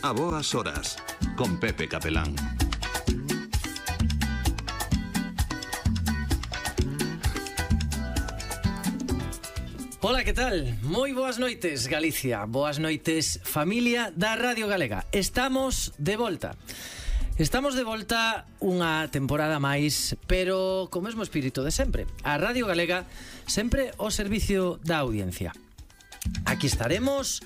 A boas horas, con Pepe Capelán. Ola, que tal? Moi boas noites, Galicia. Boas noites, familia da Radio Galega. Estamos de volta. Estamos de volta unha temporada máis, pero co mesmo espírito de sempre. A Radio Galega sempre ao servicio da audiencia. Aquí estaremos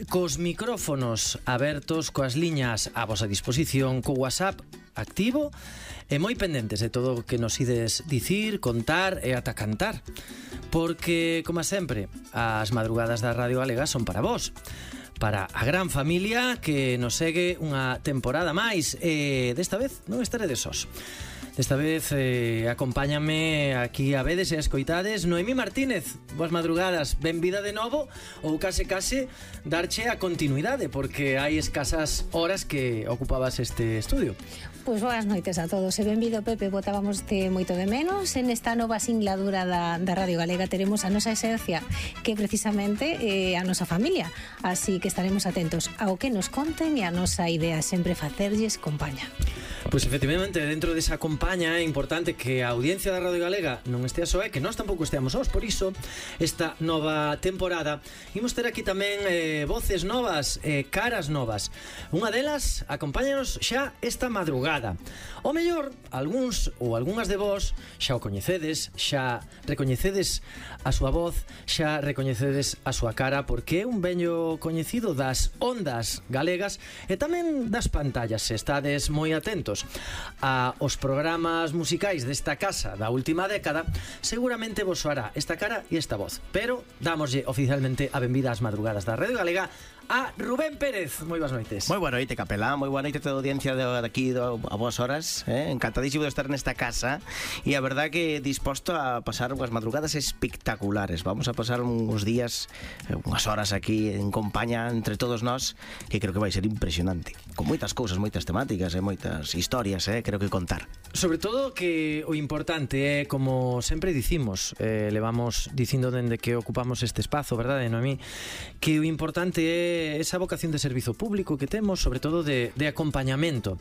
cos micrófonos abertos, coas liñas a vosa disposición, co WhatsApp activo e moi pendentes de todo o que nos ides dicir, contar e ata cantar. Porque, como sempre, as madrugadas da Radio Galega son para vos, para a gran familia que nos segue unha temporada máis. E desta vez non estaredes sós. Desta vez acompáñame aquí a vedes e a escoitades Noemí Martínez. Boas madrugadas, benvida de novo, ou case darche a continuidade, porque hai escasas horas que ocupabas este estudio. Pois boas noites a todos e benvido, Pepe. Botábamos moito de menos. En esta nova singladura da Radio Galega teremos a nosa esencia, que precisamente a nosa familia. Así que estaremos atentos ao que nos conten e a nosa idea sempre facerlles compaña. Pois efectivamente, dentro desa compaña é importante que a audiencia da Radio Galega non estea só e que nós tampouco esteamos sós. Por iso, esta nova temporada imos ter aquí tamén voces novas, caras novas. Unha delas acompáñanos xa esta madrugada. O mellor, algúns ou algunhas de vos xa o coñecedes, xa recoñecedes a súa voz, xa recoñecedes a súa cara, porque é un veño coñecido das ondas galegas e tamén das pantallas, se estades moi atentos a os programas musicais desta casa da última década, seguramente vos soará esta cara e esta voz. Pero dámoslle oficialmente a benvida ás madrugadas da Radio Galega a Rubén Pérez. Moi boas noites. Moi boa noite, Capelán. Moi boa noite a toda a audiencia de aquí a boas horas. Encantadísimo de estar nesta casa e a verdad que disposto a pasar unhas madrugadas espectaculares. Vamos a pasar uns días, unhas horas aquí en compañía entre todos nós, que creo que vai ser impresionante, con moitas cousas, moitas temáticas e moitas historias, creo que contar. Sobre todo que o importante é, como sempre dicimos, levamos dicindo dende que ocupamos este espazo, verdade, Noemí? Que o importante é esa vocación de servizo público que temos, sobre todo de acompañamento,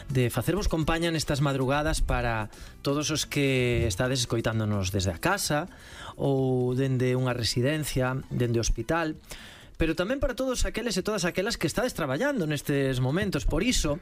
de facervos compaña nestas madrugadas para todos os que estades escoitándonos desde a casa ou dende unha residencia, dende o hospital, pero tamén para todos aqueles e todas aquelas que estades traballando nestes momentos. Por iso,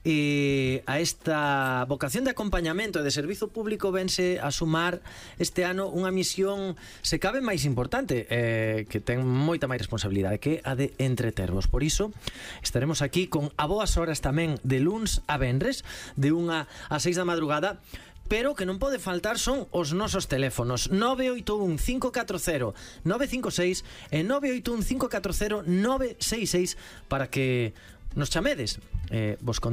a esta vocación de acompañamento e de servizo público vense a sumar este ano unha misión, se cabe, máis importante, que ten moita máis responsabilidade, que a de entretervos. Por iso, estaremos aquí con a boas horas tamén de luns a venres, de 1 a 6 da madrugada. Pero que non pode faltar son os nosos teléfonos 981 540 956 e 981 540 966 para que nos chamedes, nos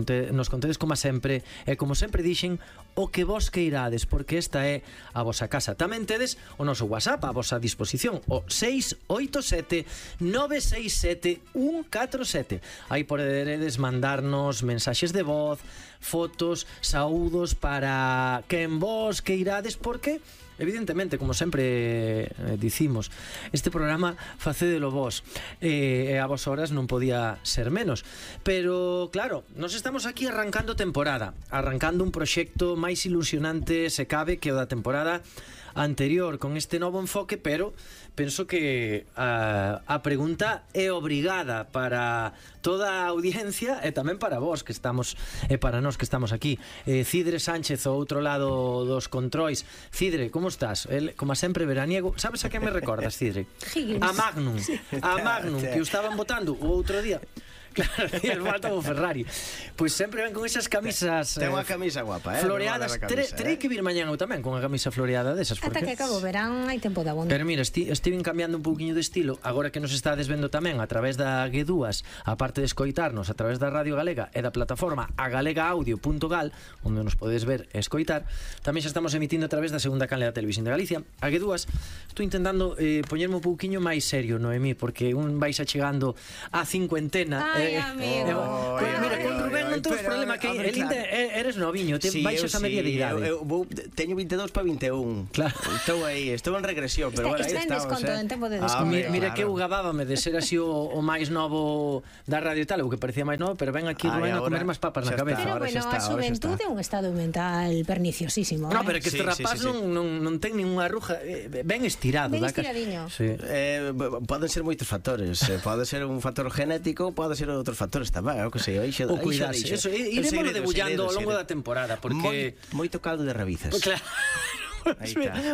contedes como sempre e como sempre dixen o que vos queirades, porque esta é a vosa casa. Tamén tedes o noso WhatsApp a vosa disposición, o 687 967 147. Aí poderedes mandarnos mensaxes de voz, fotos, saúdos para quen vos queirades, porque evidentemente, como sempre dicimos, este programa facédelo vos, e a vos horas non podía ser menos. Pero claro, nos estamos aquí arrancando temporada, arrancando un proxecto máis ilusionante, se cabe, que o da temporada anterior, con este novo enfoque. Pero penso que a pregunta é obrigada para toda a audiencia e tamén para vos que estamos, e para nós que estamos aquí. Cidre Sánchez, ao outro lado dos controis. Cidre, como estás? Como sempre veraniego. Sabes a que me recordas, Cidre? A Magnum, que o estaban botando o outro día. Claro, e el falta o Ferrari. Pois sempre ven con esas camisas ten unha camisa guapa, floreadas. Terei que vir mañán eu tamén con a camisa floreada desas, porque ata que acabo o verán hai tempo de abondo. Pero mira, estiven cambiando un pouquiño de estilo. Agora que nos estades vendo tamén a través da G2, a parte de escoitarnos a través da Radio Galega e da plataforma agalegaudio.gal, onde nos podedes ver e escoitar, tamén xa estamos emitindo a través da segunda canle da Televisión de Galicia. A G2 estou intentando poñerme un pouquiño máis serio, Noemí, porque un vais achegando a cincuentena Ai, amigo. Mira, con Rubén non temos problema que eres noviño, baixas a media de idade. Teño 22 para 21. Claro. Estou en regresión, pero bueno, aí está en estamos. desconto, en tempo de desconto. Mira que eu gabábame de ser así o máis novo da radio e tal, o que parecía máis novo, pero ven aquí Rubén a comer máis papas na cabeza. Pero bueno, a xuventude é un estado mental perniciosísimo. No, pero que este rapaz non ten ninguna arruga, ben estirado. Ben estiradiño. Poden ser moitos factores. Pode ser un factor genético, pode ser outros factores tamén, o que sei. O cuidarse, eso, iremos debullando ao longo da temporada, porque moito caldo de rabizas. Claro.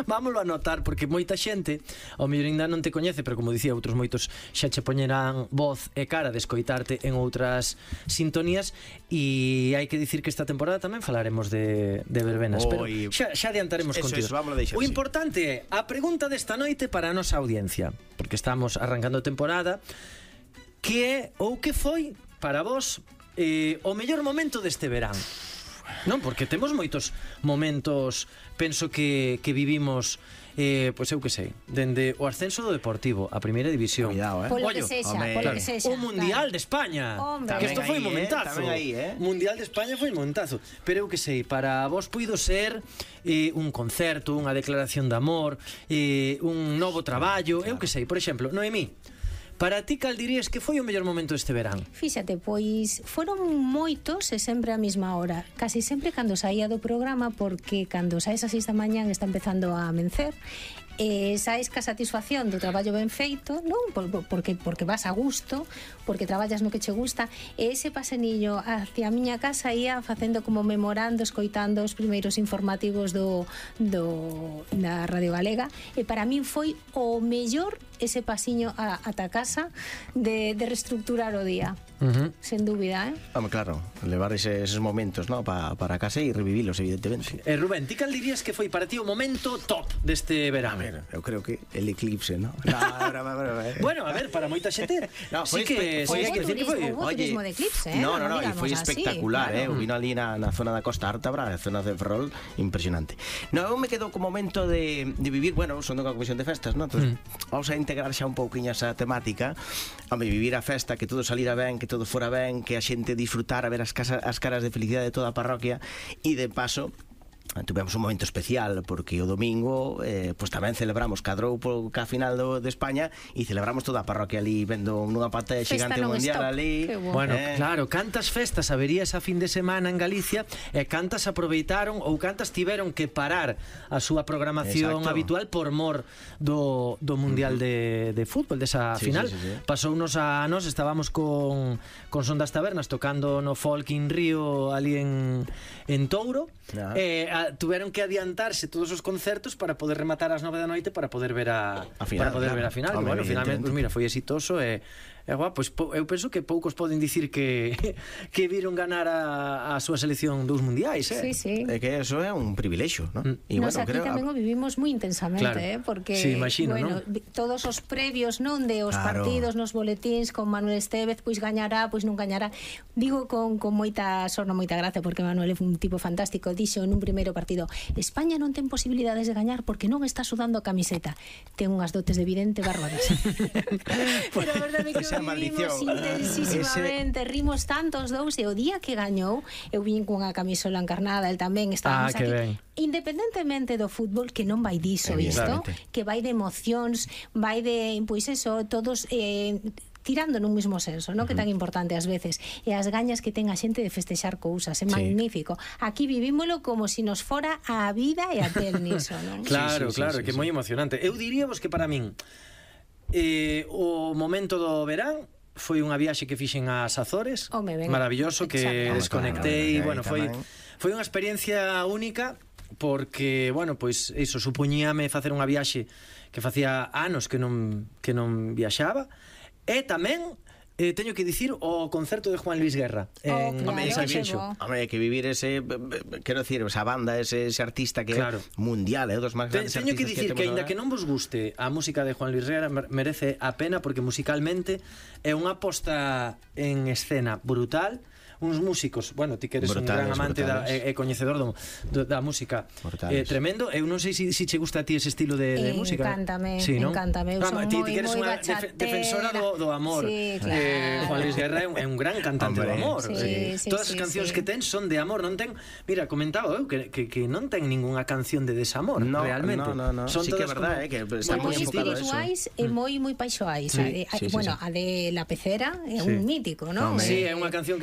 Vámoslo a notar, porque moita xente ao mellor ainda non te coñece, pero como dicía, outros moitos xa che poñerán voz e cara de escoitarte en outras sintonías. E hai que dicir que esta temporada tamén falaremos de verbenas, pero xa adiantaremos contigo. O importante é a pregunta desta noite para a nosa audiencia, porque estamos arrancando temporada, que é ou que foi para vos o mellor momento deste verán. Non, porque temos moitos momentos, penso que vivimos, pois eu que sei, dende o ascenso do Deportivo a primeira división. Cuidado, Polo que sexa, o Mundial de España. Que isto foi un momentazo. Mundial de España foi un momentazo. Pero eu que sei, para vos puido ser un concerto, unha declaración de amor, un novo traballo, eu que sei, por exemplo, Noemí, para ti, cal dirías que foi o mellor momento deste verán? Fíxate, pois foron moitos e sempre a mesma hora. Casi sempre cando saía do programa, porque cando saes a 6 da mañán está empezando a amencer, saes ca satisfacción do traballo ben feito, non? Porque vas a gusto, porque traballas no que che gusta, e ese pasenillo hacia a miña casa ia facendo como memorando, escoitando os primeiros informativos da Radio Galega, e para min foi o mellor ese pasiño ata casa de reestructurar o día. Sen dúbida, Claro, levar eses momentos, ¿no? para casa e revivilos, evidentemente. Rubén, ti cal dirías que foi para ti o momento top deste verán? Eu creo que el eclipse, ¿no? Bueno, a ver, para moita xente foi turismo de eclipse, No, e foi espectacular, eu vino ali na zona da Costa Ártabra, na zona de Ferrol, impresionante. No, eu me quedo co momento de vivir, bueno, son dunha comisión de festas, ¿no? Entonces, vamos a integrar xa un pouquiño esa temática, a vivir a festa, que todo salira ben, que todo fora ben, que a xente disfrutara, ver as caras de felicidade de toda a parroquia, e de paso tuvemos un momento especial porque o domingo pois tamén celebramos, cadrou ca final de España, e celebramos toda a parroquia ali vendo nunha pantalla xigante mundial ali. Bueno, claro, cantas festas habería esa fin de semana en Galicia e cantas aproveitaron ou cantas tiveron que parar a súa programación habitual por mor do Mundial de fútbol, desa final. Pasounos a nos, estábamos con Son das Tabernas tocando no Folk in Río ali en Touro, tuveron que adiantarse todos os concertos para poder rematar ás 9 da noite para poder ver a final. Bueno, finalmente, pues mira, foi exitoso e pois eu penso que poucos poden dicir que viron ganar a súa selección dos mundiais, Sí. É que eso é un privilexio, ¿no? Nos aquí tamén o vivimos moi intensamente, porque imagino, todos os previos, non, de os partidos nos boletíns con Manuel Estévez, pois gañará, pois non gañará. Digo con moita sorna, moita gracia, porque Manuel é un tipo fantástico. Dixo en un primeiro partido: España non ten posibilidades de gañar porque non está sudando a camiseta. Ten unhas dotes de vidente bárbaras. Pero a verdade é que vivimos intensísimamente, rimos tantos dous, e o día que gañou eu vin cunha camisola encarnada, el tamén, estábamos aquí ben. Independentemente do fútbol, que non vai diso isto, que vai de emocións, vai de, pois eso, todos tirando nun mismo senso, non? Que tan importante ás veces, e as gañas que ten a xente de festexar cousas, é magnífico. Aquí vivímolo como si nos fora a vida e a tel niso, non? Claro, que é moi emocionante. Eu diríamos que para min o momento do verán foi unha viaxe que fixen ás Azores, maravilloso, que desconectei, bueno, foi unha experiencia única, porque, bueno, pois iso supoñíame facer unha viaxe que facía anos que non viaxaba, e tamén teño que dicir o concerto de Juan Luis Guerra en Sanxenxo. Hai que vivir ese, quero dicir, esa banda, ese artista que é mundial, dos máis grandes artistas. Teño que dicir que aínda que non vos guste a música de Juan Luis Guerra, merece a pena, porque musicalmente é unha posta en escena brutal, uns músicos, bueno, ti que eres un gran amante e coñecedor da música tremendo. Eu non sei se che gusta a ti ese estilo de música. Encántame, sí, ¿no? encántame. Eu son ti que eres unha bachatera. defensora do amor. Sí, claro. Juan Luis Guerra é un gran cantante do amor. Todas as cancións que ten son de amor, non ten, mira, comentaba eu que non ten ninguna canción de desamor, realmente. No. Son sí que é verdade, que está moi enfocado a eso. Espirituais e moi paixoais. Bueno, a de La Pecera é un mítico, non? Sí, é unha canción que